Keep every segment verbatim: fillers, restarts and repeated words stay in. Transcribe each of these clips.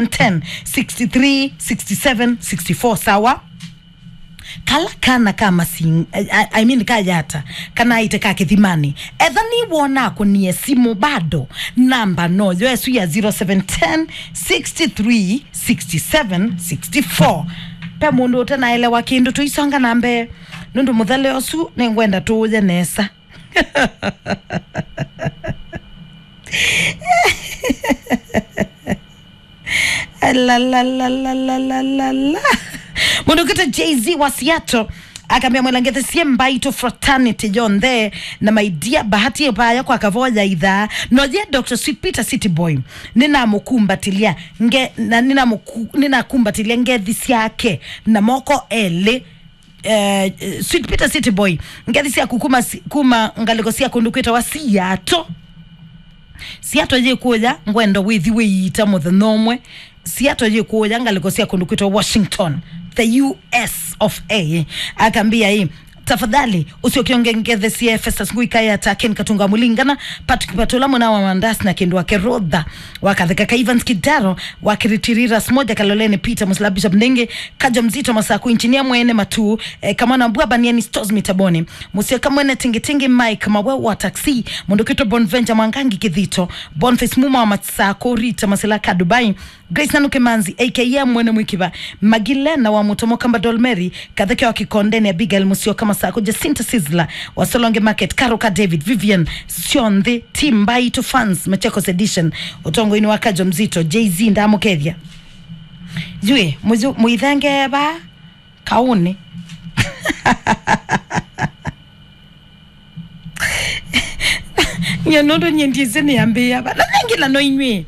ten, sixty-three, sixty-seven, sixty-four, sawa? Kala kana ka masing, I, I mean, ka yata, kana aite ka kĩthimani. Etha nĩ wona akũnie simũ bado, namba no yo esu ya zero seven ten, sixty-three, sixty-seven, sixty-four. Pe mũndũ ũtanaelewa kĩndũ, tũisonga na mbee, nũndũ mũthele ũsu nĩngwenda tũũye nesa. La, la, la. Mũndũ ũkwĩtwa Jay-Z wa Seattle akambĩa, "Mwĩla ngethesie Mbaitũ fraternity yonthe, na my dear Bahati Epaya kwa Kavoya ithaa, no ye Doctor Sweet Peter City Boy, nĩnamũkumbatĩlya nge, na nĩnamũku, nĩnakumbatĩlya ngethi syake na moko elĩ." Eh, Sweet Peter City Boy, ngethi syaku kuma si, kuma ngalĩko sya kũndũ kwĩtawa Seattle. Seattle yĩkũya, ngwenda wĩthi wĩiita mũthenya ũmwe. Seattle yĩkũya, ngalĩko sya kũndũ kwĩtawa Washington, the U S of A. Akambĩa ĩ, "Tafadhali, ũsyoke ũngethesie Festus Ngui Kayata, Ken Katunga Mulingana, Patrick Patula, mwana wa Mandas na Kindu wa Kerotha, wa Katheka ka Evans Kidaro, wa Kiritiriras moja, Kaloleni Peter Musla, Bishop Ndenge, Kajo Mzito Masaku, Engineer Mwene Matu, eh, Kamana Mbua, Baniani Stores Mitaboni, Musio Kamwene Tingitingi, Mike Mawe wa Taxi, Mũndũ Kito, Bonventure Mwangangi Kithito, Boniface Muma wa Masaku, Rita Masila ka Dubai, Grace Nanuke Manzi, A K A Mwene Mwikiva, Magilena wa Mutomo Kamba, Dolmeri Katheke wa Kikondeni, Abigail Musyoka Masaku, Jacinta Sizzla wa Solonge Market, Karo ka David, Vivian Sionthi, Team Mbaitũ Fans, Machakos Edition, ũtongoinĩ wa Kajo Mzito, Jay-Z ndamũkethya. Yue, mũyu-, mũithenge va kaũnĩ. Nyie nũndũ nyie ndiĩsĩ nĩambĩĩa va. Na nengĩla no inyw'ĩ.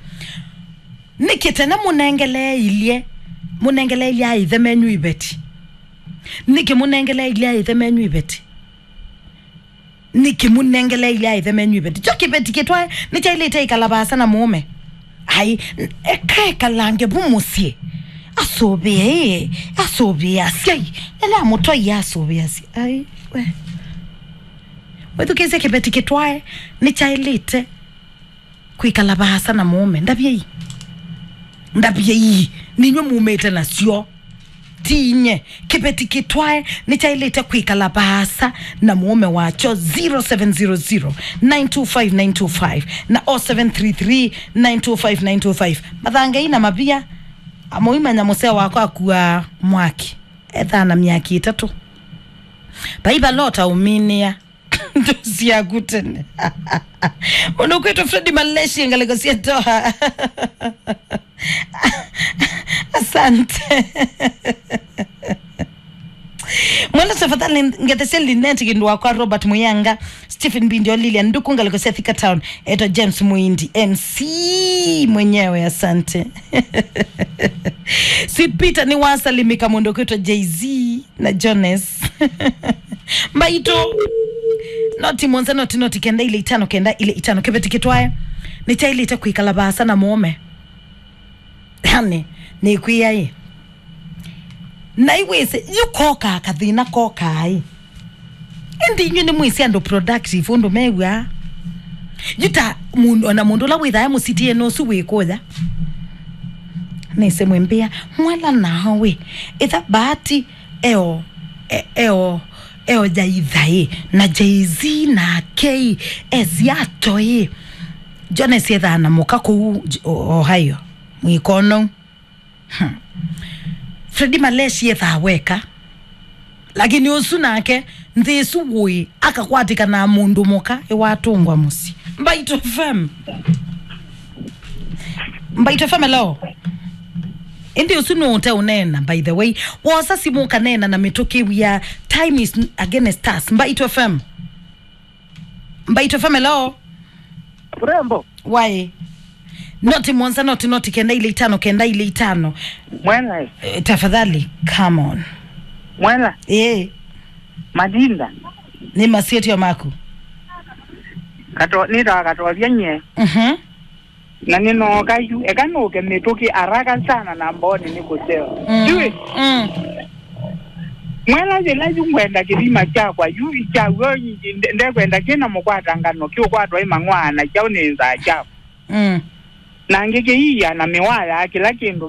Nĩkĩ tene mũnengeleeilye, mũnengeleeilye aĩthe menyu iveti? Nĩkĩ mũnengeleeilye aĩthe menyu iveti? Nĩkĩ mũnengeleeilye aĩthe menyu iveti? Kyo kĩveti kĩtwae nĩkyaĩlĩte ĩkala vaasa na mũũme? Ai, ekaekalange vu mũsyĩ. Asũvĩe ĩ, asũvĩe asyai. Ela mũtoi asũvĩe asyai. Ai, we. Wĩthukĩĩsye, kĩveti kĩtwae nĩkyaĩlĩte kwĩkala vaasa na mũũme? Ndavyei. Ndavyei. Ninywe mumĩte nasyo. Ti inye. Kĩveti kĩtwae nĩkyaĩlĩte kwĩkala vaasa na mũũme wakyo. Zero seven zero zero, nine two five, nine two five na oh seven three three, nine two five, nine two five. Mathangei na mavia. Amũimanya mũseo wakwa akua mwaki. Ethaa na myaki ĩtatũ. Vai valota ũminĩa. Ndosi yaku tene. Mũndũ kwĩtwa Freddy Maleshi, ngalĩko sya Doha. Asante. Mwenda tafadhali ngethesia Linet Kindu wakwa, Robert Muyanga, Stephen Bindio, Lilian Nduku, ngalĩko sya Thika Town, eto James Muindi, M C mwenyewe, asante. Sweet Peter nĩ wasalimika, mũndũ kwĩtwa Jay-Z na Jones. Mbaitũ. Noti mũonza, noti, noti kenda ile itano, kenda ile itano. Kĩveti kĩtwae nĩkyaĩlĩte kwĩkala vaasa na mũũme. Yani, nĩkwĩa ĩ. Na iwĩsĩ, yu kokaa kathĩna kokaa ĩ. Ĩndĩ inyw'ĩ nĩmwĩsĩ andũ productive ũndũ mew'aa. Yu ta mũndũ, ona mũndũ ũla wĩthaa e mũsitiene ũsu wĩ kũya. Nĩsĩ mwĩmbĩa, mwela nao wĩ. Ĩtha Bahati eo, e-, eo, eo ya ithaĩ, na Jay-Z nake ĩ, e Seattle ĩ. Jones ethaa na mũka kũu J-, O-, Ohio, mwĩkono. Hmm. Freddy Maleshi ethaa weka. Lakini ũsu nake, nthĩ ĩsu wũĩ, akakwatĩka na mũndũ mũka, ĩwatũngwa mũsyĩ. Mbaitũ F M. Mbaitũ F M, hello. Ĩndĩ ũsu nũũte ũneena, by the way. Wosa simũ ũkaneena na mĩtũkĩ wia. Time is against us. Mbaitũ F M. Mbaitũ F M, hello. Urembo. Why? Noti mũonza, noti, noti kenda ile itano, kenda ile itano. Mwela. Eh, tafadhali, come on. Mwela. Eh. Madinda. Nĩ masietio maku. Kato, nĩtawa Katovya nye. Mhm. Na nĩnooka yu, eka nũke mĩtũkĩ haraka sana na mbooni nĩ kũseo. Mm. Jui. Mm. Mwela yĩla yu ngwenda kĩthima kyakwa, yu kyaw'o nde-, ndekwenda kĩna mũkwata ngano, kĩũkwatwa ĩ mang'waa na kyaũ nĩ nzaa kyaku. Mm. na ngĩkĩiia na mĩwaa ya kĩla kĩndũ